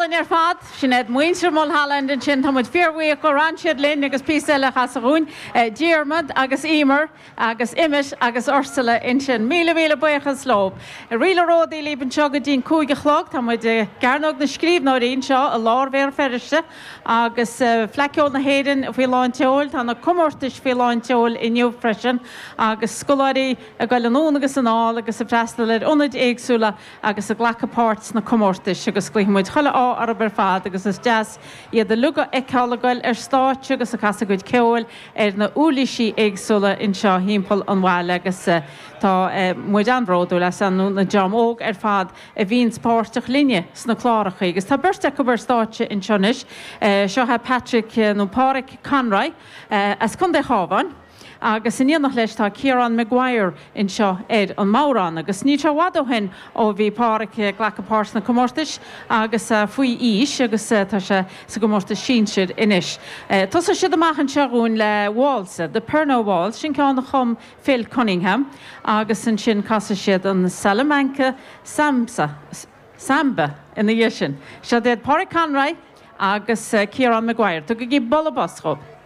Go hálainn ar fad. Sin iad muintir Mulholland ansin. Tá muid fíorbhuíoch gur fhan siad linn agus píosa eile a chasadh dhúinn. Diarmuid agus Emer agus Emmet agus Ursula ansin. Míle míle buíochas leo. Ríle Ródaí libh anseo go dtí'n 5 a chlog. Tá muid i gCearnóg na Scríbhneoirí anseo i lár Bhéal Feirste agus Fleadh Cheoil na hÉireann faoi lán tseoil. Tá na comórtais faoi lán tseoil inniu freisin agus scoláirí ag goil anonn agus anall agus ag freastal ar ionaid éagsúla agus ag glacadh páirt sna comórtais agus guífidh muid chuile ádh orthu ar fad agus is deas iad uilig a fheiceáil ag goil ar stáitse agus ag casadh a gcuid ceoil ar na uirlisí éagsúla anseo thimpeall an bhaile agus tá muid an-bhródúil as an dream óg ar fad a bhíonns páirteach linne sna clárachaí agus tá beirt acu ar stáitse anseo anois. Seo é Patrick nó Páraic Conroy as Contae an Chabháin. Agus in éineacht leis tá Ciarán Maguire anseo ar an mbodhrán. Agus níl sé i bhfad ó shin ó bhí Páraic ag glacadh páirt sna comórtais agus faoi aois agus tá sé sa gcomórtas sinsir anois. Tosóidh siad amach anseo dhúinn le válsa, The Pernod Waltz, sin ceann a chum Phil Cunningham agus ansin casfaidh siad an Salamanca Samsa, Samba ina dhiaidh sin. Seo iad Páraic Conroy agus Ciarán Maguire. Tugaigí bualadh bos dhóibh.